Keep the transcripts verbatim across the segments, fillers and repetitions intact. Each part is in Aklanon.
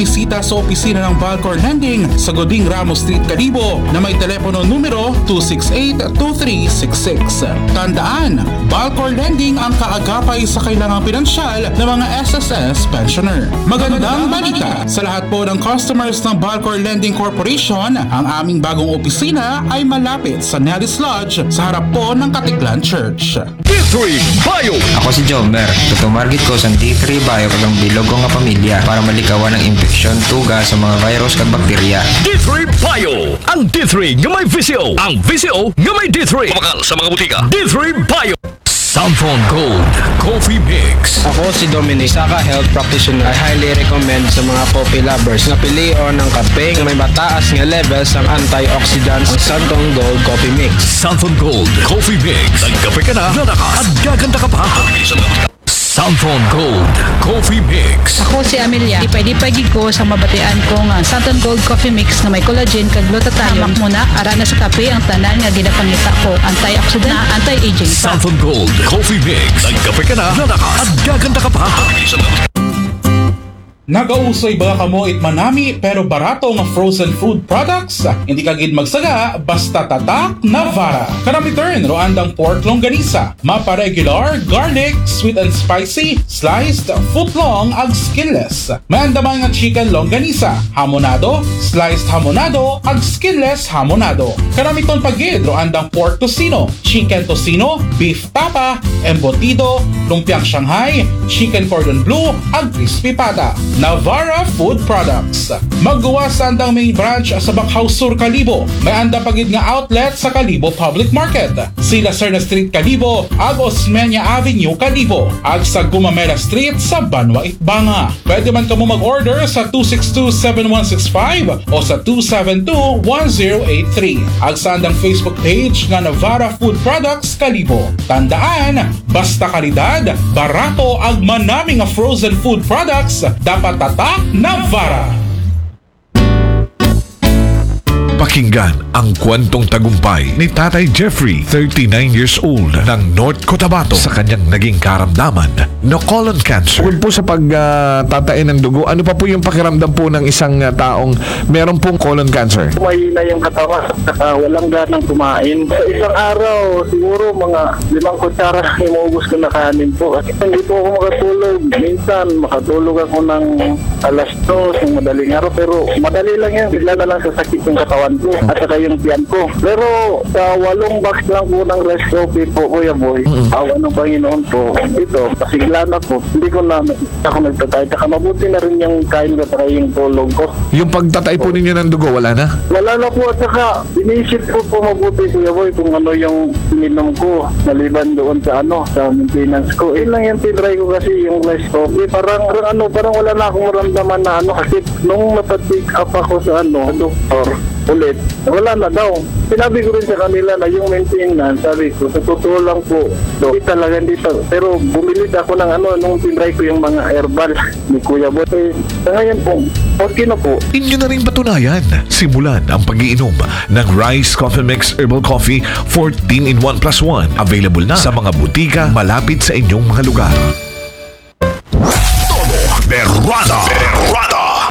Bisita sa opisina ng Valcor Lending sa Goding Ramos Street, Kalibo na may telepono numero two six eight two three six six. Tandaan, Valcor Lending ang kaagapay sa kailangang pinansyal ng mga S S S pensioner. Magandang balita sa lahat po ng customers ng Valcor Lending Corporation, ang aming bagong opisina ay malapit sa Nellis Lodge sa harap po ng Katiklan Church. D three Bio. Ako si Jomer. Tutumarget ko sa D three Bio kag ang bilog ko nga pamilya para malikawan ang impeksyon, tuga sa mga virus kag bakterya. D three Bio. Ang D three nga may V C O. Ang V C O nga may D three. Mabakal sa mga butika. D three Bio. Santhon Gold Coffee Mix. Ako si Dominic, isa ka health practitioner. I highly recommend sa mga coffee lovers na pilion ang kape na may mataas nga levels ng antioxidants, ang Santhon Gold Coffee Mix. Santhon Gold Coffee Mix. Nagkape ka na, lalakas, at gaganda ka pa. Santhon Gold Coffee Mix. Ako si Amelia. Dipay-dipay gid ko sa mabatian ko nga Santon Gold Coffee Mix nga may collagen kag glutathione. Hamak mo na, ara na sa kape ang tanan nga ginapangita ko. Antioxidant, anti-aging. Santhon Gold Coffee Mix. Nagkape ka na, lalakas, at gaganda ka pa. Nagausoy ba kamo it manami pero barato nga frozen food products? Hindi ka gid magsaga basta tatak Navara. Kanami turn ro andang pork longganisa, mapa regular, garlic, sweet and spicy, sliced, foot long ag skinless. May anda man nga chicken longganisa, hamonado, sliced hamonado ag skinless hamonado. Kanami ton pa gid ro andang pork tocino, chicken tocino, beef tapa, embutido, lumpiang Shanghai, chicken cordon bleu, ag crispy pata. Navara Food Products. Magguwas sa andang main branch sa Bakhao Sur, Kalibo. May anda pa gid nga outlet sa Kalibo Public Market, Sila Serna Street, Kalibo, ag Osmeña Avenue, Kalibo, ag sa Gumamela Street sa Banwa Itbanga. Pwede man kamo mag-order sa two six two seven one six five o sa two seven two one zero eight three. Ag sa andang Facebook page nga Navara Food Products Kalibo. Tandaan, basta kalidad, barato ag manami nga frozen food products, dapat tatak Navara. Pakinggan ang kwentong tagumpay ni Tatay Jeffrey, thirty-nine years old, ng North Cotabato, sa kanyang naging karamdaman na colon cancer. Bukod po sa pagtatain ng dugo, ano pa po yung pakiramdam po ng isang ah, taong meron pong colon cancer? Mahina yung katawan, saka walang ganang kumain. Sa isang araw, siguro mga limang kutsara lang yung maubos ko na kanin po. Kasi hindi po ako makatulog. Minsan, makatulog ako ng alas dos ng madaling araw, pero madali lang yan. Bigla na lang sasakit yung katawan ko at saka yung tiyan ko. Pero sa walong box lang po ng rice coffee po, Kuya Boy, awa ng Panginoon po, ito, pasigla na po. Hindi ko na ako nagtatay. Saka mabuti na rin yung kain ko saka yung tulog ko. Yung pagtatay po ninyo ng dugo, wala na? Wala na po at saka inisip ko po mabuti, Kuya Boy, kung ano yung ininom ko maliban doon sa ano, sa maintenance ko. Yun lang yung tinry ko kasi yung rice coffee. Parang, parang ano, parang wala na akong maramdaman na ano kasi nung napatik up ako sa ano, sa doktor, ulit, wala na daw. Sinabi ko rin sa kanila na yung maintenance, sabi ko, sa totoo lang po, Dok, hindi talaga, hindi talaga. Pero bumili ako ng ano, nung tinry ko yung mga herbal ni Kuya Boy. Eh, sa ngayon po, okay na po. Inyo na rin patunayan. Simulan ang pag-iinom ng Rice Coffee Mix Herbal Coffee fourteen in one plus one. Available na sa mga butika malapit sa inyong mga lugar. Todo Berrada. Berrada.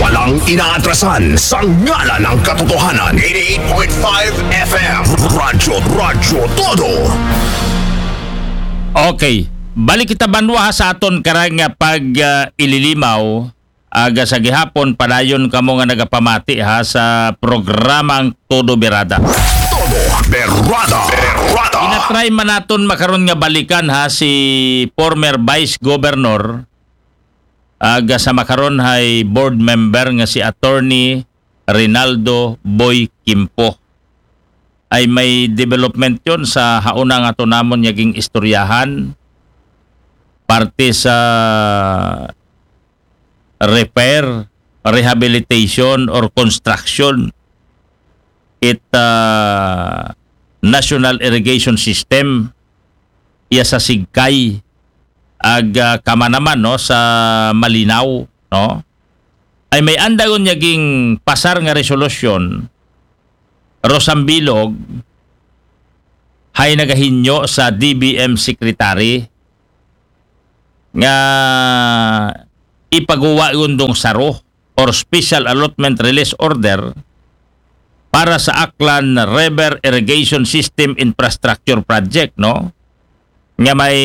Walang inaatrasan sa ngalan ng katotohanan. Eighty-eight point five F M. Radyo, Radyo Todo. Okay. Balik kita banwa ha sa aton karang nga pag ah, ililimaw aga sa gihapon, padayon kamo nga nagapamati ha sa programang Todo Berada. Todo Berada. Berada. Inatry man naton makaron nga balikan ha si former Vice Governor aga sa makaron hay board member nga si Attorney Rinaldo Boy Kimpo. Ay may development yon sa hauna nga to namon nga ging istoryahan parte sa repair, rehabilitation or construction it ah, National Irrigation System iya sa Sigkay ag ah, kamanaman no sa Malinaw no ay may andagon niya ging pasar nga resolusyon Rosambilog hay nagahinyo sa D B M secretary nga ipaguwa yun dong saro or special allotment release order para sa Aklan River Irrigation System Infrastructure Project, no? Nga may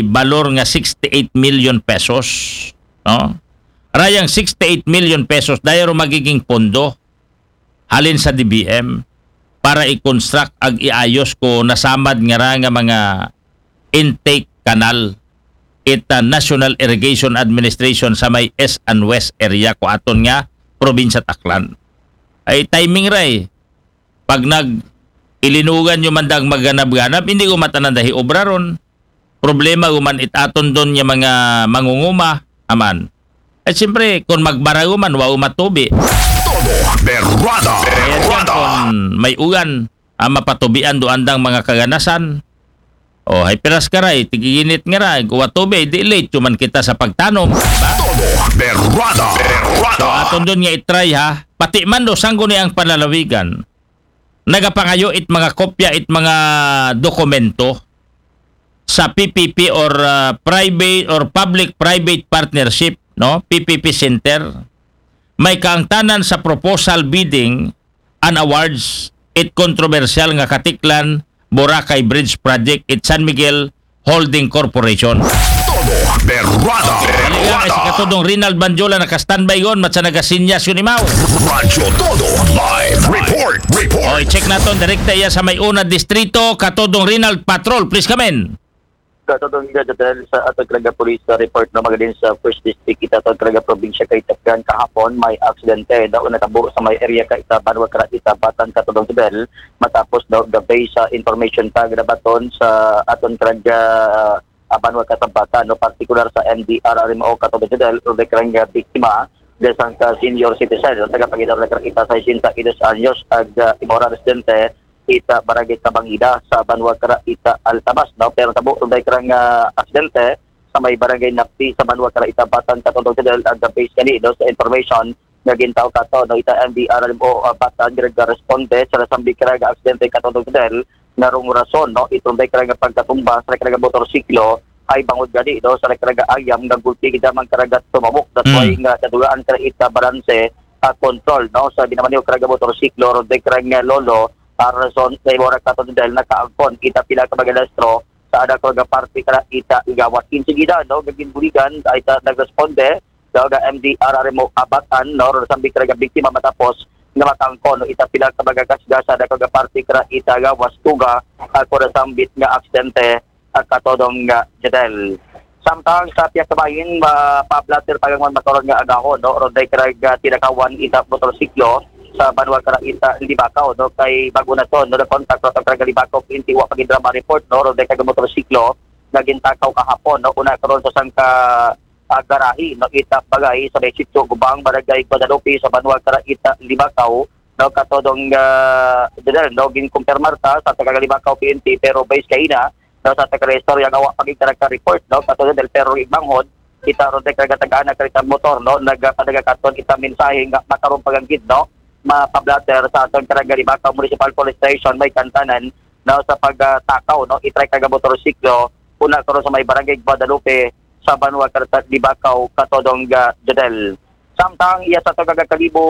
balor nga sixty-eight million pesos, no? Rayang sixty-eight million pesos, dayaro magiging pondo halin sa D B M para i-construct ag iayos ko nasamad nga ra nga mga intake canal ita National Irrigation Administration sa may East and West area ko aton nga probinsya Aklan. Ay timing ray, pag nag ilinugan yung mandang maganab-ganab, hindi ko matanan dahi obra ron. Problema guman it aton don nga mga mangunguma, aman. At siyempre, kung magbarago man, wa umatubi. Todo Berrada. Kaya dyan, Berrada. Kung may ugan, ah, mapatubian do andang mga kaganasan. O, hay piras ka ray, tigiginit nga ra, wa tubi, di late, man kita sa pagtanom. Diba? Todo Berrada. Berrada. So, aton don nga itry ha. Pati man do, sanggo ni ang panlalawigan. Nagapangayo it mga kopya, it mga dokumento sa P P P or uh, private or public-private partnership, no? P P P Center. May kaangtanan sa proposal bidding and awards it kontrobersyal nga Katiklan Boracay Bridge Project it San Miguel Holding Corporation. Todo Berrada. Balikan kay si Katudong Rinald Banjola naka-standby gon, matsa nagasinyas yun imaw. Radyo Todo Live Report. Report. O, i-check naton direkta iya sa may una distrito, Katudong Rinald Patrol, please come in. Katudong Jadel sa aton karaga police report no, magadin sa first district ita aton karaga probinsya kay Takyan kahapon may aksidente daw natabo sa may area ka ita banwa kara ita Batan Katudong Jadel matapos daw gabay sa information tag nabaton sa aton karaga ah, banwa ka Sabatan no, partikular sa M D R R M O Katudong Jadel o karaga biktima desang ka senior citizen no, tagapagidar na kara ita sa sesenta y dos anyos ag ah, imora residente ita barangay Tabangida sa banwa kara ita Altabas no, pero tabo kara nga aksidente sa may barangay Napti sa banwa kara ita Batan Katudong Jadel ag based kani no, sa information nga gintaw kato no, ita M D R M O uh, Batan nga responde sa nasambit kara nga aksidente Katudong Jadel nga rong rason no, itong kara nga pagkatumba sa kara nga motorsiklo ay bangod gani no, sa kara nga ayam nga gulpi gid man kara nga tumabok, that's why nga nadulaan kara ita balanse uh, control no, sa ginamanyo kara nga motorsiklo ron kara nga lolo uh, rason sa imora Katudong Jadel nakaangkon ita pila ka mga lastro sa anak ko nga parte kara ita igawas. Insigida no, gaginbuligan ay ta nagresponde daw nga M D R R M O Abatan no, sambi kara nga biktima matapos nga matangko no, ita pila ka mga kasgasa daw nga parte kara ita gawas tuga ako na sambit nga aksidente at Katudong nga Jadel. Samtang sa pihak kabahin, mapaplater pa man makaron nga agahon no, ron kara nga tinakawan ita motorsiklo sa banwa kara ita Libakaw no, kay bago na to no, nakontak ron kara Libakaw inti wa pagidrama report no, ron kara motorsiklo nga gintakaw kahapon no, una karon sa sangka ah, garahe no, ita bagay sa may Sitio Gubang, Barangay Guadalupe sa banwa kara ita Libakaw no, Katudong uh, Jadel no, ginkumpirmar ta sa taga Libakaw P N P pero base kaina no, sa taga istorya nga wa pagigkara ka report no, Katudong Jadel pero igbanghod kita ron kay kagatagaan na karita motor no, nagpadaga katon ita mensahe nga makaron paganggid no, mapablatter sa aton karaga Libakaw Municipal Police Station may kantanan no, sa pagtakaw no, itry karaga motorsiklo una karon sa may barangay Guadalupe sa banwa kara ita Libakaw Katudong uh, Jadel. Samtang iya sa taga Kalibo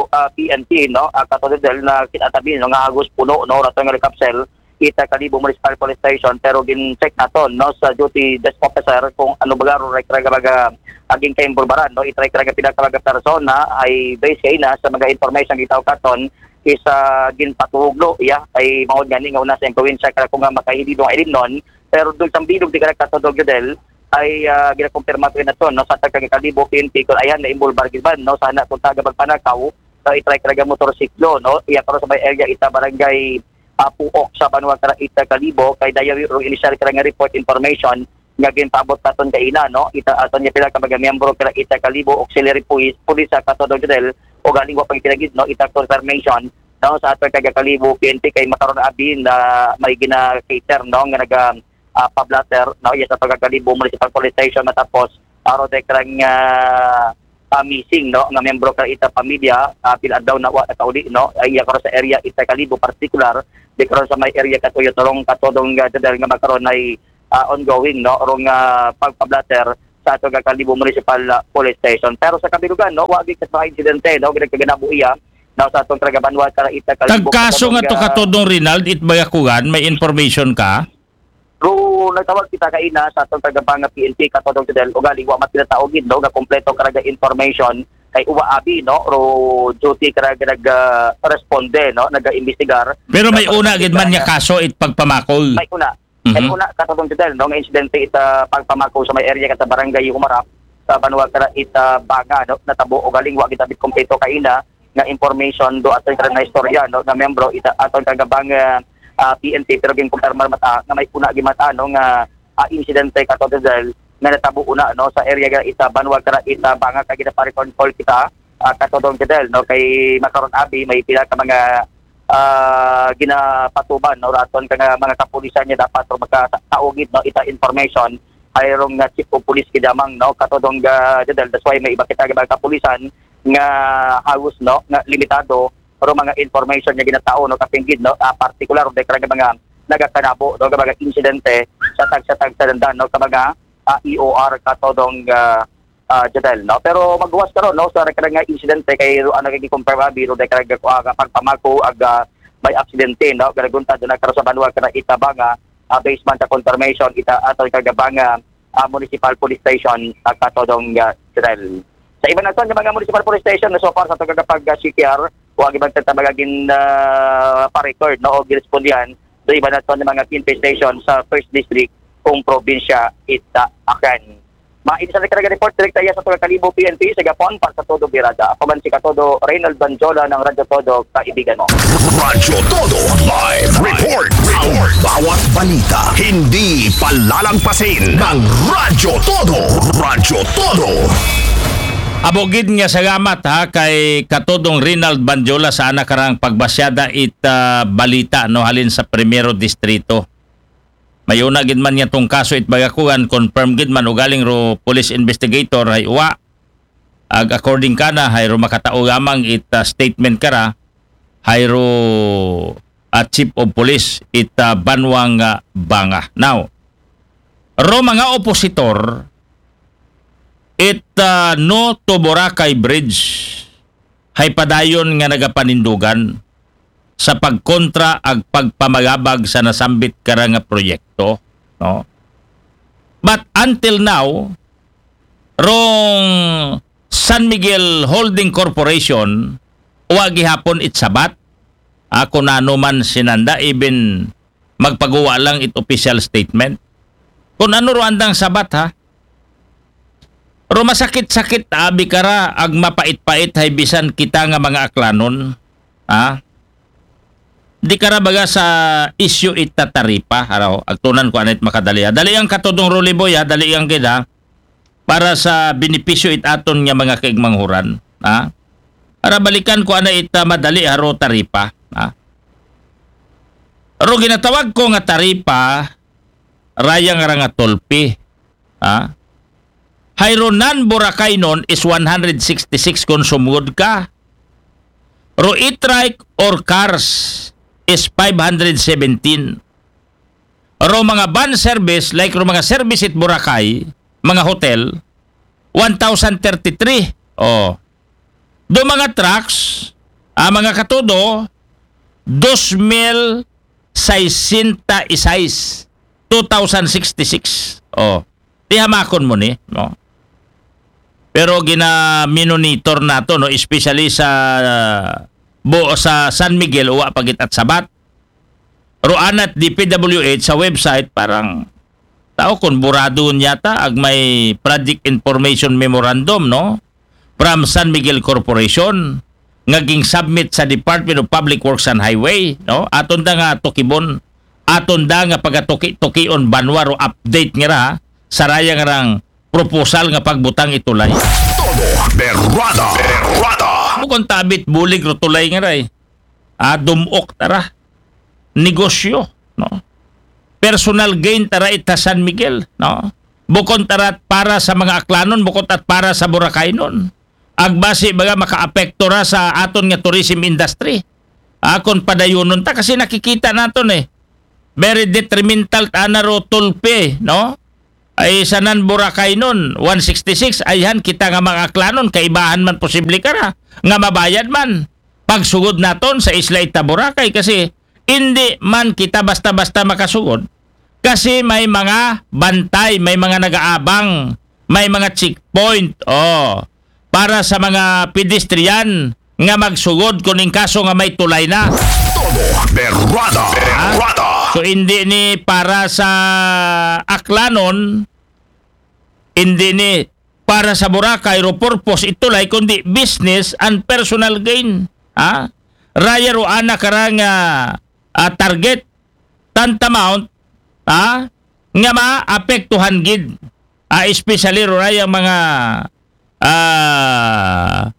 uh, P N P no, uh, Katudong Jadel na kinatabi no, nga hagos puno no, raton nga likapsel ita Kalibo Municipal Police Station pero gin-check naton no, sa duty desk officer kung ano ba garo karaga baga aging kaimbulbaran no, itry karaga pila ka mga persona ay base kaina sa mga information gitaw katon is uh, ginpatuhog no, iya ay mangod gani nga una sa impluwensya kara kung nga makahilidong ilimnon pero dul sambilog di kara Katudong Jadel ay uh, ginakumpirma ko naton no, sa taga Kalibo P N P kung ayan na imbulbar gid man no, sana kung taga magpanakaw no, itry karaga motorsiklo no, iya karon sa may area ita barangay uh, Puok sa banwa kara ita Kalibo kay dayawi rong initial kara nga report information nga ginpaabot naton kaina no, ita aton nga pila ka mga miyembro kara ita Kalibo Auxiliary Police Police sa Katudong Jadel o galing wa pang pinagid no, ita confirmation no, sa aton taga Kalibo P N P kay makaron abi na may gina-cater no, nga naga uh, pablatter no, iya sa taga Kalibo Municipal Police Station matapos aro de karang uh, uh, missing no, nga miyembro kara ita pamilya uh, pila adlaw na wa nakauli no, ay iya karon sa area ita Kalibo partikular di karon sa may area katuyo turong Katudong uh, Jadel nga makaron ay uh, ongoing no, rong uh, pagpablatter sa aton nga Kalibo Municipal, ah, Police Station. Pero sa kabilugan, no, wa gyud ka insidente, no, gyud kaganabo iya, no, sa aton nga banwa kara ita Kalibo. Tagkaso nga to, ah, katudong Rinald, it Bayakugan, may information ka? Ro nagtawag kita kaina sa aton nga Banga P N P, katudong Jodel, ugaling wa man tinataog gid, no, nga kompleto kara nga information kay uwa abi, no, ro duty kara nga nag, ah, responde, no, nag-imbestigar. Pero may una gid man nga kaso it pagpamako. May una. Mhm. Kay una, katudong Jodel, no, nga insidente ita pagpamako sa may area kata Barangay Humarap, sa banwa kara ita Banga, no, natabo ugaling wa gyud abi kompleto kaina nga information do aton kara na istorya, no, nga membro ita aton nga Banga, ah, P N P, pero ginkumpirmar man ta nga may una gyud man ta, no, nga, ah, insidente katudong Jodel nga natabo una, no, sa area nga ita banwa kara ita Banga kay ginaparecord call kita, ah, katudong Jodel, no, kay makaron abi may pila ka mga ah, ginapatuban, no, raton ka nga mga kapulisan nga dapat ro makataog gid, no, ita information, hay rong nga chief of police gid lamang, no, katudong, ah, Jodel. That's why may iba kita nga mga kapulisan nga halos, no, nga limitado ro mga information nga ginatao, no, kapin gid, no, ah, partikular ro kara nga mga nagakanabo, no, nga mga insidente sa tagsa-tagsa dandan, no, ka mga, ah, E O R katudong, ah, ah, Jodel, no? Pero magluwas karon, no, sa kara nga insidente kay ro ana kay confirm abi ro kara nga, ah, pagpamako ag, ah, may aksidente, no? Karagunta do na karo sa banwa kara ita Banga, ah, based man sa confirmation ita aton nga Banga, ah, Municipal Police Station, ah, katudong, ah, Jodel. Sa iba naton nga mga Municipal Police Station na so far sa aton nga pag, ah, C T R, wa gyud man ta mga gin, ah, pa-record, no, o girespondihan do iba naton nga mga P N P station sa First District kung probinsya ita Aklan. Maisa na kara nga report direkta iya sa aton nga Kalibo P N P sa gapon para sa Todo Birada. Ako man si Katodo Reynald Banjola ng Radyo Todo, kaibigan mo. Radyo Todo Live Report. Ang bawat balita, hindi palalagpasin ng Radyo Todo. Radyo Todo. Amo gid nga salamat, ha, kay Katodong Rinald Banjola sa ana karang pagbasyada it, ah, balita, no, halin sa Primero Distrito. May una gid man nga tong kaso it Bayakugan, confirm gid man ugaling ro police investigator hay uwa. Ag according kana, hay ro makatao lamang it, ah, statement kara, hay ro, ah, chief of police it, ah, banwang, ah, Banga. Now, ro mga opositor it, ah, No to Boracay Bridge, hay padayon nga nagapanindugan sa pagkontra ag pagpamalabag sa nasambit kara nga proyekto, no? But until now, rong San Miguel Holding Corporation, wa gihapon it sabat. Ako nano man sinanda, even magpaguwa lang it official statement. Kung ano ro andang sabat, ha? Ro masakit-sakit abi kara ag mapait-pait hay bisan kita nga mga Aklanon, ha? Di kara baga sa issue ita taripa, araw, agtunan ko anit makadali, ha? Dali ang Katodong Rolly Boy, ha? Dali ang gid, ha? Para sa benepisyo it aton nga mga kaigmanghuran, ha? Para balikan ko ana ita madali, ha, ro taripa, ha? Ro ginatawag ko nga taripa, raya nga ra nga tolpe, ha? Hay ro non-Boracaynon is one hundred sixty-six kung sumugod ka. Ro e-trike or cars is five hundred seventeen. Ro mga van service, like ro mga service it Boracay, mga hotel, one thousand thirty-three. Oh. Do mga trucks, ah, mga Katodo, dos mil sesenta y seis, two thousand sixty-six. Oh. Ti hamakon mo ni, no? Pero ginaminonitor nato, no, especially sa, ah, bo-, sa San Miguel, uwa pa gid it sabat. Ro anat D P W H sa website, parang tao kon burado yata ag may project information memorandum, no? From San Miguel Corporation nga ging-submit sa Department of Public Works and Highway, no? Aton da nga tukibon, aton da nga pagatuki-tukion banwa ro update nga ra, saraya nga rang proposal nga pagbutang it tulay. Todo Berrada. Berrada. Bukon ta abi it bulig ro tulay nga ra, eh. Ah, dumok tara. Negosyo, no? Personal gain tara ita San Miguel, no? Bukon tara para sa mga Aklanon, bukon ta para sa Boracaynon. Agbasi baga makaapekto ra sa aton nga tourism industry. Akon padayonon ta kasi nakikita naton, eh. Very detrimental ana ro tolpe, no? Ay sanan Boracay nun, one sixty-six, ayhan kita nga mga Aklanon, kaibahan man posible kara, nga mabayad man. Pagsugod naton sa isla ita Boracay kasi hindi man kita basta-basta makasugod. Kasi may mga bantay, may mga nagaabang, may mga checkpoint. Oh, para sa mga pedestrian nga magsugod kung in kaso nga may tulay na. Todo berrada. Berrada. So hindi ni para sa Aklanon, hindi ni para sa Boracay ro purpose itulay kundi business and personal gain. Ha? Raya ro ana karang ah, target, tantamount, ha? Nga maapektuhan gid. Ah, especially ro raya mga ah,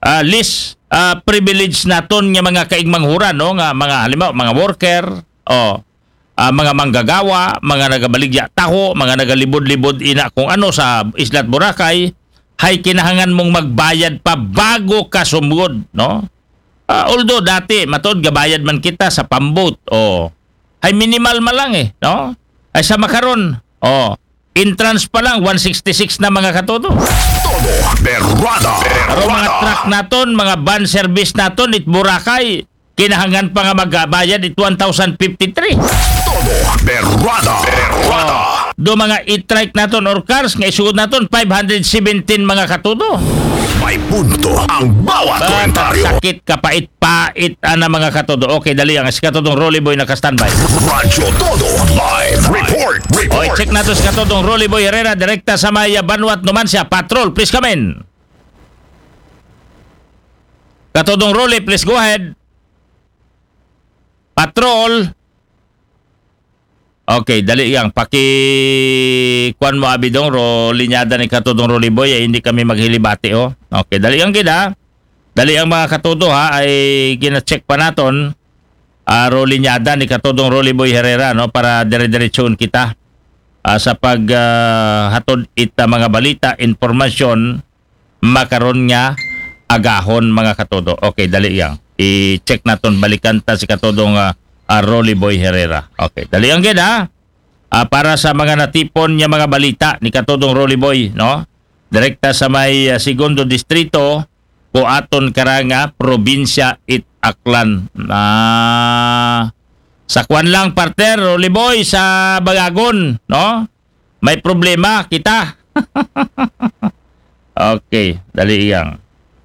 ah, least ah, privilege naton nga mga kaigmanghuran, no, nga mga halimbawa mga worker, oh, ah, mga manggagawa, mga nagabaligya taho, mga nagalibod-libod ina kung ano sa Islat Boracay, hay kinahangan mong magbayad pa bago ka sumugod, no? Ah, although dati matod gabayad man kita sa pambot, oh, hay minimal man lang eh, no? Ay sa makaron, oh, entrance pa lang one sixty-six na mga katodo. Todo berrada. Pero mga Berrada. Truck naton, mga van service naton it Boracay, kinahangan pa nga magbayad it one thousand fifty-three. Todo berrada. Berrada. Do mga e-trike naton or cars nga isugod naton five hundred seventeen mga katodo. May punto ang bawat komentaryo. Sakit kapait-pait ana mga katodo. Okay, dali ang si katodong Rolly Boy naka-standby. Radyo Todo live report. Oy, Report. Check nato si katodong Rolly Boy Herrera direkta sa may ah, Banwat Numancia. Patrol, please come in. Katodong Rolly, please go ahead. Patrol. Okay, dali yang. Paki kuan mo abidong ro linyada ni katodong Rolly Boy, ay hindi kami maghilibati, oh. Okay, dali yang gid ha. Dali ang mga katodo ha, ay gina-check pa naton. Ah, ro linyada ni katodong Rolly Boy Herrera, no, para dire-diretsoon kita ah, sa pag ah, hatod ita mga balita, impormasyon makaron nga agahon mga katodo. Okay, dali yang. I-check naton balikan ta si katodong ah, ah, Rolly Boy Herrera. Okay, dali ang gid ha. Ah, para sa mga natipon nga mga balita ni katodong Rolly Boy, no? Direkta sa may ah, segundo distrito, kuaton kara nga probinsya it Aklan. Ah, sa kwan lang partner, Rolly Boy, sa Bagagon, no? May problema kita. Okay, dali yang.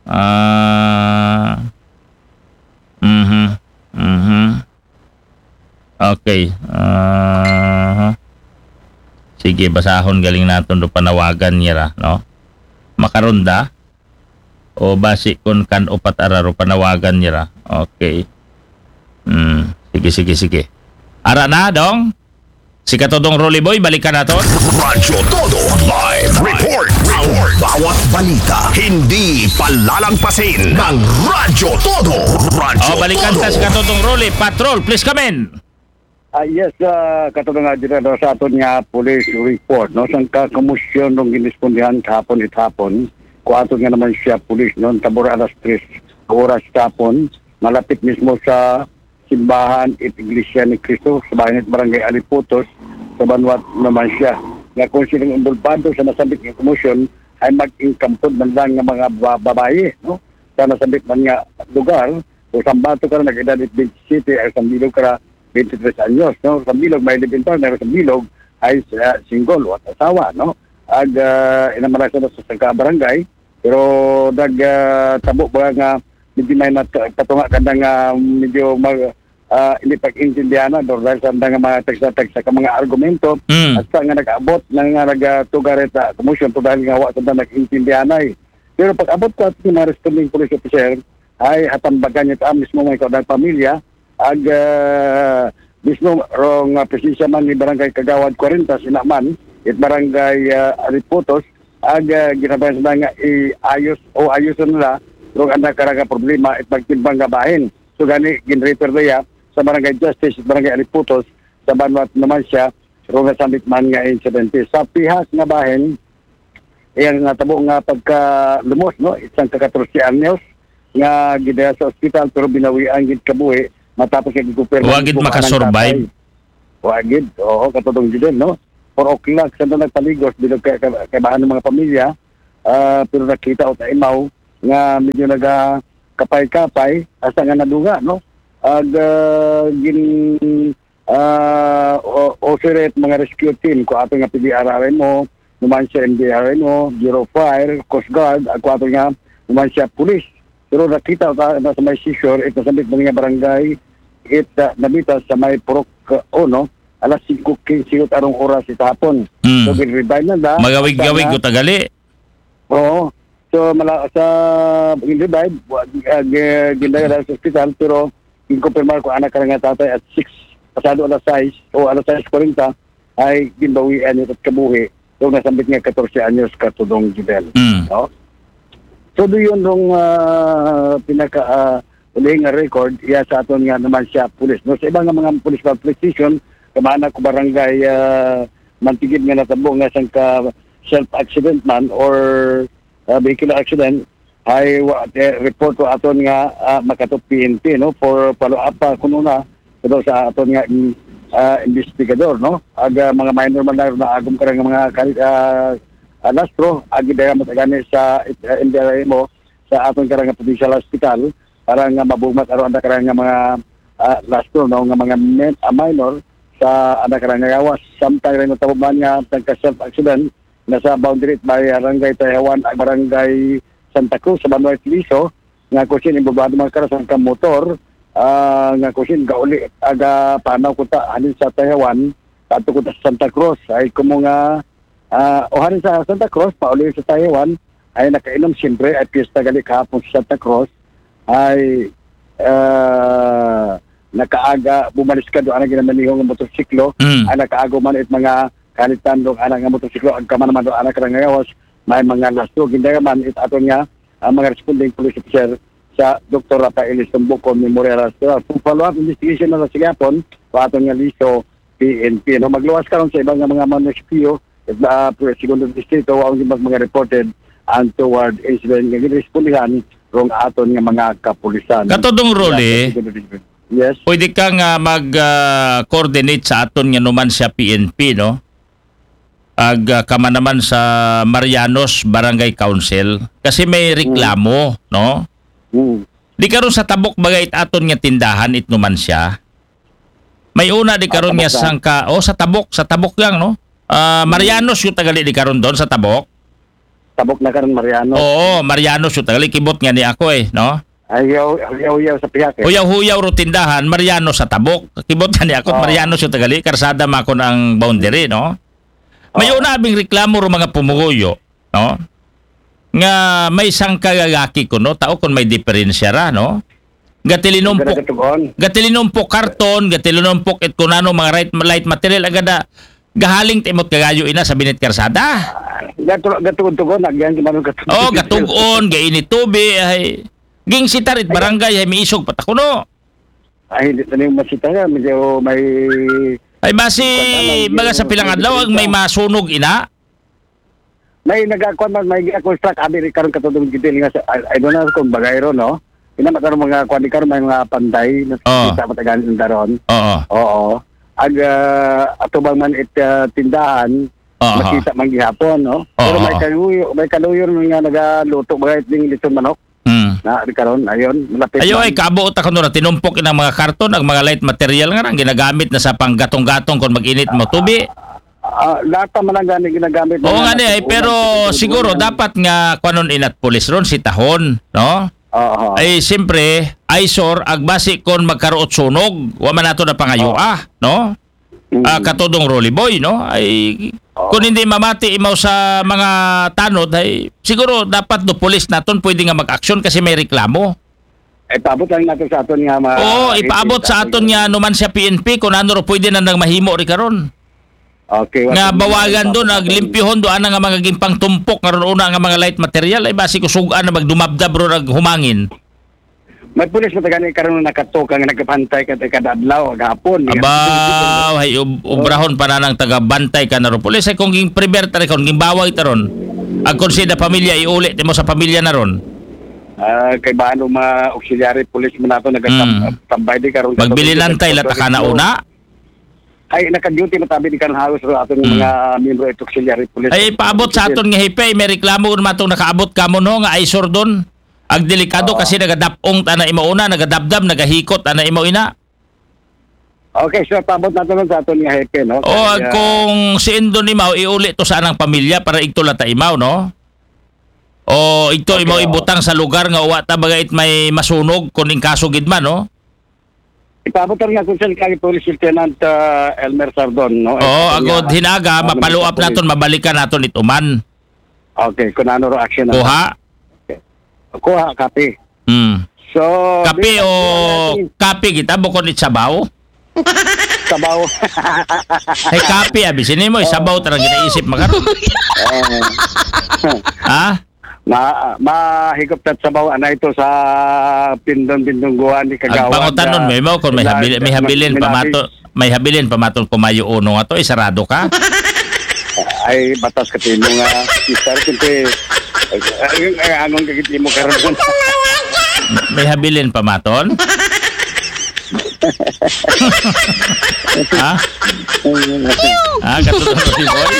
Ah, mhm. Mhm. Okay. Ah, sige, basahon galing naton do panawagan niya ra, no? Makaron da? O basi kun kan upat ara ro panawagan niya ra. Okay. Hmm. Sige, sige, sige. Ara na, dong? Si katodong Rolly Boy, balikan naton. Radyo Todo live report. Ang bawat balita hindi palalangpasin ng Radyo Todo. Radyo O, balikan Todo. Ta si katodong Rolly. Patrol, please come in. Ah, yes, uh, katulad nga dito no, sa aton nga police report, no, sa kakumusyon nung ginispondihan kahapon it hapon, kuaton nga naman siya police, no, tabor alas tres oras kahapon, malapit mismo sa simbahan it Iglesia ni Cristo, sa bayan it Barangay Aliputos, sa Banwat naman siya. Nga kung silang involvado sa nasabit nga kumusyon, ay mag-ingkampod man lang nga mga ba- babae, no, sa nasabit man nga lugar, o sambato ka na nag-edad it twenty-seven, ay sambilog ka na twenty-three anyos, no? Sa bilog, may live-in partner, sa bilog, ay uh, single, wala asawa, no? Ag uh, inamarasa na sa sangka barangay, pero nag uh, tabo ba nga medyo may nat- patunga ka na nga medyo mag, uh, hindi pag-intindihan na, dahil sa nga mga tagsa-tagsa ka mga argumento, Mm. Hasta nga nag-abot na nga nagatugarit sa kumusyon to dahil nga wa sa nag-intindihan ay. Pero pag-abot ko at mga responding police officer, ay hatambagan niya ta mismo mga ikaw ng pamilya, ag uh, mismo rong uh, presensya man ni Barangay Kagawad forty, sinaman, it Barangay uh, Aliputos, ag uh, ginabayan sila nga iayos o ayos nila rong anak karaga problema it magtimbang nga bahin. So gani, generator daya sa Barangay Justice, Barangay Aliputos, sa Banwat naman siya, rong nasambit man nga insidente. Sa pihas nga bahin, iyang natabo nga pagkalumos, no, isang ka katorse anyos nga gidaya sa ospital pero binawian gid kabuhi matapos nga gikumpirma Wa gid makasurvive. Wa gid, oo, katulong gid, no? four o'clock sa nagpaligos, bilog kay, kay, kay bahan ng mga pamilya, ah, pero nakita o taimaw nga medyo nagakapay-kapay, hasta nga nadunga, no? Ag, ah, gin, ah, o, o siret mga rescue team, kung ato nga P D R R M O, naman sa M D R M O, Bureau of Fire, Coast Guard, ag kung ato nga naman sa police. Pero nakita ta na sa may seashore, ito sa may mga barangay, it, ah, nabita sa may Purok, ah, uno, alas singko kinse arong oras sa hapon. Mm. So, gin-revive na na. Magawig-gawig Sana ko tagali. Oo. So, mala, sa gin-revive, wa, ah, gi-, gindala sa ospital, pero gin-confirmar ko anak ka nga tatay at six, pasado alas sais o alas sais kwarenta, ay ginbawian niya at kabuhi, yung nasambit nga katorse anyos katudong Jubel. Mm. No? So, do yun rong, ah, pinaka, ah, ulihing nga record, iya sa aton nga naman siya pulis. No? Sa iba nga mga pulis, police station, kamana ko barangay, ah, Mantigid nga natabo nga sangka self-accident man or, ah, vehicular accident, ay wa, eh, report ko aton nga, ah, makato P N P, no? For follow-up pa kuno na, pero sa aton nga, mm, ah, investigador, no? Ag, ah, mga minor man na, naagom ka nga mga kali-, ah, ah, lastro, agi daya matagani sa, ah, M D R M O, sa aton karang provincial hospital, para nga mabumat aron ang karang nga mga, ah, lastro, no? Nga mga men-, ah, minor sa anak karang nga gawas. Samtang rin natabo man nga nagka-self accident, nasa boundary it barangay Tayawan ag barangay Santa Cruz sa Banway Liso, nga kusin imbabado mga karas ang kamotor, ah, nga kusin gauli aga panaw kuta halin sa Tayawan, pato kuta sa Santa Cruz, ay kumo nga, ah, o halin sa Santa Cruz, pauli sa Tayawan, ay nakainom siyempre, ay piyesta gali kahapon sa Santa Cruz, ay, ah, nakaaga, bumalis ka doon ang ginamanihong motorsiklo, Mm. ay nakaago man it mga kalitan dong anak nga motorsiklo, ag kaman naman dong anak nga ngawas, may mga lastro. Gindaya man it aton nga, ang mga responding police officer sa Doktor Rafael Istumbuko Memorial Hospital. Kung follow-up investigation na sa sigapon, pa aton nga liso, P N P. No, magluwas karon sa iba nga mga munisipyo, it, ah, segundo distrito, ang mga, mga reported untoward incident nga girespondihan rong aton nga mga kapulisan. Katudong Rolly, Yes. Pwede ka nga mag, ah, coordinate sa aton nga naman siya P N P, no? Ag, ah, kama naman sa Marianos Barangay Council. Kasi may reklamo, no? Mm. Di karon sa tabok bagay it aton nga tindahan it naman siya. May una di Ah, karon nga tabok ka. Sangka, oh, sa tabok, sa tabok lang, no? Ah, Mm. Marianos yung tagali di karon doon sa tabok. Tabok na karon, Marianos. Oo, Marianos yung tagali. Kibot nga ni ako eh, no? Ayaw, ayaw, ayaw sa pihak eh. Huyaw-huyaw ro tindahan, Marianos sa tabok. Kibot nga ni ako, Oo. Marianos yung tagali. Karsada makon ang boundary, no? May Oo. Una abing reklamo ro mga pumuguyo, no? Nga may sangka gagaki ko, no? Tao kung may diferensya ra, no? Gatilinumpok, Gatugon. Gatilinumpok karton, gatilinumpok it kunano mga right, light material, agada gahaling timot kagayo ina sa binit karsada. Gatu-, gatugon-tugon, agyan, gimano gatugon. Oh, gatugon, gainit tubi, ay. Ging sitar it barangay, ay miisog patakuno. Ay, hindi tayo masita nga, medyo may Ay, basi, Kung ano, baga sa medyo pilang adlaw, ang may masunog ina? May nagakuan man, may construct, abi rin karon katulong gidil nga sa, I, I don't know kung bagay ron, no? Ina, makaroon mga kuan, di karon may mga panday, na Oh. Kita matagal ng daron. Oo. Oo. Ag, ah, atubang man it, ah, tindahan, Oo. Makita man gihapon, no? Oo. Pero may kaluyo, may kaluyo rin nga nagaluto, mga iting litong manok. Mm. Na, di karon, ayun, malapit Ayo lang. Ay, kaabo ta kuno ra, tinumpok inang mga karton, ang mga light material nga nang ginagamit na sa panggatong-gatong kung mag-init mo tubi. Ah, lata man ang gani ginagamit Oo na nga ni, ay, natutunan pero sa siguro tutunan. Dapat nga kwanon inat pulis ron, si tahon, no? Oo. Ay, siyempre, ay sure, agbasi kon magkaroot sunog, wa man nato na pangayo, Oo. ah, no? Mm. Ah, katudong Rolly Boy, no? Ay, Oo. Kung hindi mamati imaw sa mga tanod, ay, siguro dapat do pulis naton pwede nga mag-aksyon kasi may reklamo. Ay, paabot lang nato sa aton nga ma-, Oo, ipaabot sa aton nga naman siya P N P kung ano ro pwede na nang mahimo ri karon. Okay, Nga wa-, bawagan do, naglimpyuhon do, ana nga mga gimpang tumpok, nga ron una nga mga light material, ay basi kusugan na magdumabdab ro naghumangin. May pulis mo tagani karon nakatoka nga nagkapantay ka kada adlaw, gahapon. Abaw, hay ob-, Oh. Obrahon pa na ng taga-bantay ka na ro. Pulis, ay kung ging primer tari karon, ging baway taron. Ag kung sila pamilya, iuli, timo sa pamilya na ron. Ah, kay ba ano mga auxiliary police mo nato nagkatambay Mm. di karon Magbilinantay katong la ta ka na Police. Una? Ay, naka-duty matabi di kan House ro aton mga miyembro ito auxiliary police. Ay, paabot sa aton nga hepe, may reklamo naman itong nakaabot kamo, no, nga eyesore doon. Ag delikado kasi nagadapong tana imaw una, nagadabdab, nagahikot tana imaw ina. Okay, so paabot nato nun sa aton nga hepe, no? O, kay, ag ah, kung si Indon imaw, iuli to sa anang pamilya para igtula ta imaw, no? O igto imaw, okay, oo, ibutang sa lugar nga uwa ta bagay it may masunog kung in kaso gid man, no? Ipaabot nga kung saan kay Police Lieutenant, ah, Elmer Sardon, no? Oo, agod hinaga, mapaluap naton, mabalikan naton ituman. Okay, kung ano ro action naton. Kuha? Okay. Kuha, copy. Hmm. So, kape o kape kita, bukod it sabaw? Sabaw. Ay, kape, abi. Sini mo, sabaw tarang ginaisip makaroon. Eh, ha? Ma, mahigop tat sabaw, ana ito sa pindon-pindong guwan, di kagawan. Pangutanon, may mo, kung may habilin, may habilin, pamato, may habilin pamaton kumayo uno nga to, isarado ka? Ay, batas ka timo nga, mister, siyempre, ay, ay, ay, anong kagitimo karon? May habilin pamaton? Ha? Ha? Katulad ko si Boy?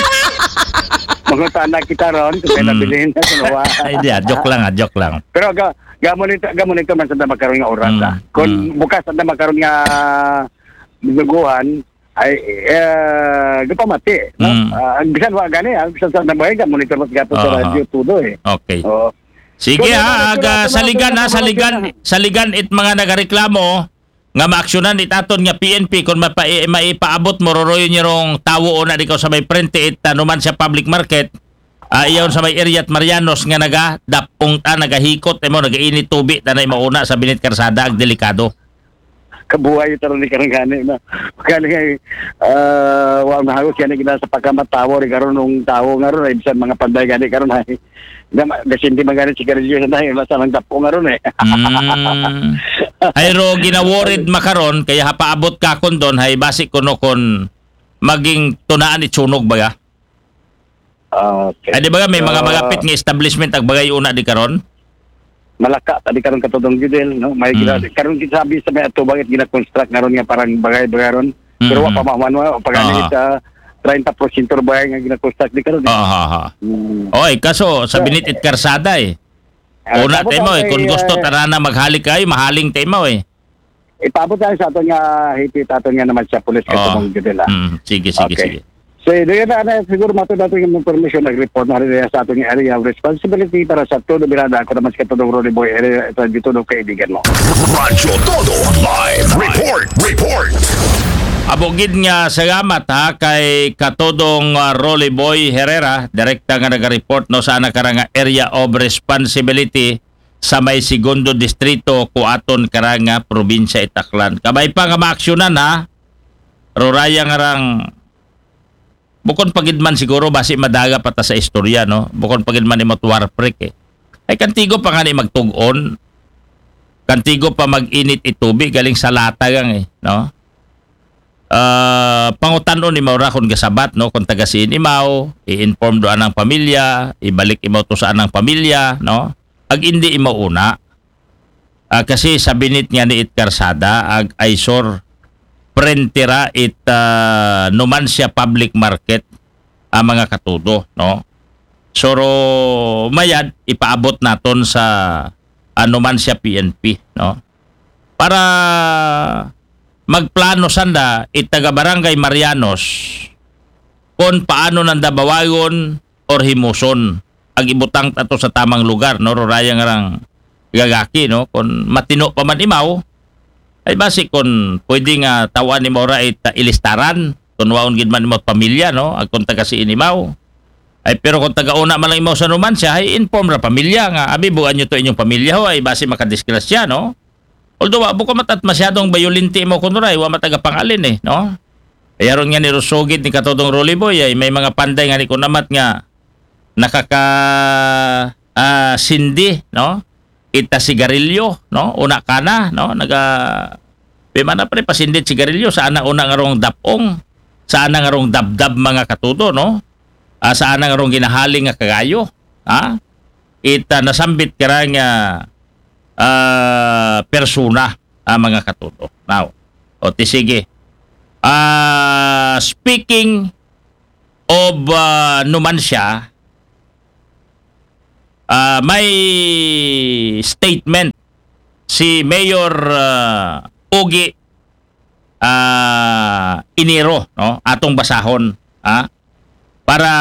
Mangutana kita ron, kung may nabilin na, kung wa. Ay, di, ah, joke lang, ah, joke lang. Pero ga, gamon ito, gamon ito man sa makaroon nga oras, ah. Kung bukas sa makaroon nga duguhan, ay, eh, gapamati, no? Ah, ang bisan wa gani, ang bisan sa nabuhay ka, monitor mo sa gato sa radyo, tudo, eh. Okay. Oo. Sige, ha, ag, ah, saligan, ha, saligan, saligan it mga nagareklamo nga maaksyonan it aton nga P N P kung mapa-, eh, maipaabot mo roroy nyo rong tawo o na di ko sa may prente it, ah, Numancia Public Market, ah, iyon sa may area at Marianos nga nagadapong ta, nagahikot, eh, mo, nagainit tubi, tanay mauna sa binit karsada, ag delikado. Kabuhay ito rin ni karang gani na. Gani nga, ah, wa mahagos gani gina sa pagkamatawo rin karon ng tao nga ron, ay bisan mga panday gani karon ay. Gasindi man gani sigarilyo sa nahi, basta lang dapo nga ron eh. Mm. Ay ro, ginaworid makaron, kaya hapaabot ka kon doon, hay basi kuno kon maging tunaan itsunog baga. Okay. Ay, di ba nga, may mga, so, malapit nga establishment ag bagay una di karon? Malaka ta di karon katudong Judel, no? May gina-, karon kita sabi sa may ato bakit gina-construct nga ron nga parang bagay-bagay ron. Pero wa pa mahuman, wa pa gani sa treinta porsyento bagay nga gina-construct di karon, eh. Aha, aha. Mm. Oy, kaso sa binit it karsada, eh. Ah, una tayo mo, eh, kung gusto, ah, tara na maghalik kayo, mahaling tayo mo, eh. Ipaabot tayo sa aton nga hipit, aton nga naman sa pulis, katong Judel, ah. Mm, sige, sige, okay, sige. So, doon na, na, siguro matod ato yung information, nag-report na rin sa ato yung area of responsibility para sa todo birada. Ako naman si Katulong Ronnie Boy, area, ito, dito, no, kaibigan mo. Radyo Todo Live Report. Report. Abogid nga salamat, ha, kay Katodong, ah, Rolly Boy Herrera, direkta nga naga-report, no, sa nakarang area of responsibility sa may segundo distrito, kuaton karang, ah, probinsya Itaklan. Kabay pa nga maaksyonan, ha, ruraya nga rang, bukon pa gid man siguro, basi madaga pa ta sa istorya, no? Bukon pa gid man imot warprik, eh. Ay, kantigo pa nga ni magtugon. Kantigo pa mag-init itubi, galing sa lata gang, eh, no? Ah, pangutanon imaw ra kung gasabat, no? Kung taga siin imaw, i-inform do anang pamilya, ibalik imaw to sa anang pamilya, no? Ag indi imaw una. Ah, kasi sa binit nga ni it karsada, ag eyesore, prentera it, ah, Numancia Public Market, ang mga katudo, no? So, ro, mayad, ipaabot naton sa, ah, Numancia P N P, no? Para magplano sanda, it taga Barangay Marianos, kung paano nanda bawayon, or himuson. Ag ibutang tato sa tamang lugar, no? Rurayang rang gagaki, no? Kung matino pa man imaw, ay basi kung pwede nga tawan imaw ra it, ah, ilistaran, kung waon gid man imaw pamilya, no? Ag kung taga siin imaw. Ay, pero kung taga una man lang imaw sa Numancia, ay inform ra pamilya nga, abi, buan nyo to inyong pamilya, ho, ay basi makadisgrasya, no? Although, wa, bukon matat masyadong bayolente mo kuno ray, wa mataga pangalin eh, no? Kaya ron nga ni Rusugid ni Katodong Rolly Boy, ay may mga panday nga ni kunamat nga nakaka, ah, sindi, no? Ita sigarilyo, no? Una kana, no? Naga, pimana pre, pasindit sigarilyo, sa ana una nga rong dapong, sa ana nga rong dabdab mga katudo, no? Ah, sa ana nga rong ginahaling nga kagayo, ha? Ita nasambit kara nga ah, persona ang mga katuto. Now, o ti sige. Ah, speaking of, ah, Numancia, ah, may statement si Mayor, ah, Ogie, ah, Enero, no? Atong basahon, ha? Para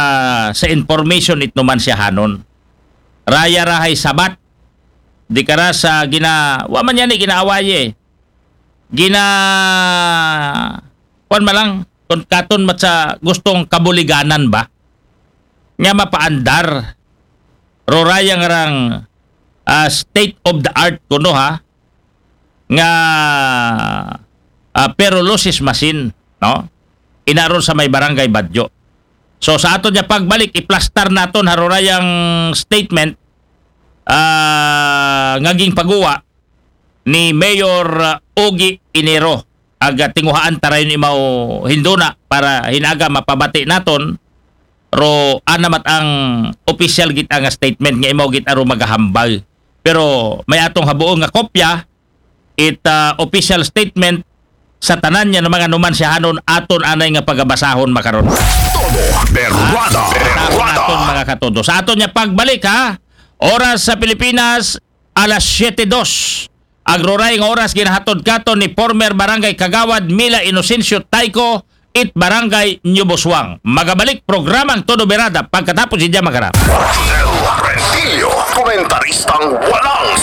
sa information it Numanciahanon. Raya ra hay sabat. Di kara sa gina-, wa man yan eh, ginaawaye. Gina-, kuwan man lang, kung katon mat sa gustong kabuliganan ba? Nga mapaandar. Rurayang rang, ah, state of the art kuno, ha? Nga, ah, pyrolysis machine, no? Inaron sa may Barangay Badyo. So, sa aton niya pagbalik, iplastar naton harurayang statement, ah, nga gingpaguwa ni Mayor, ah, Ogie Enero. Aga tinguhaan tarayon imaw hinduna para hinaga mapabati naton, ro ana mat ang official gid nga statement nga imaw gid aro magahambal. Pero may atong habuo nga kopya, it, ah, official statement sa tanan niya ng mga Numanciahanon aton anay nga pagabasahon makaron. Todo Berwada. Aton, Berwada. aton mga katodo. Sa aton niya pagbalik ha, oras sa Pilipinas, alas siyete dos. Agroray nga oras ginahatod katon ni former barangay kagawad Mila Inocencio Tayco, it barangay New Busuang. Magabalik programang Todo Berada pagkatapos ni Diya Magara. Rosel Rentillo, komentaristang walang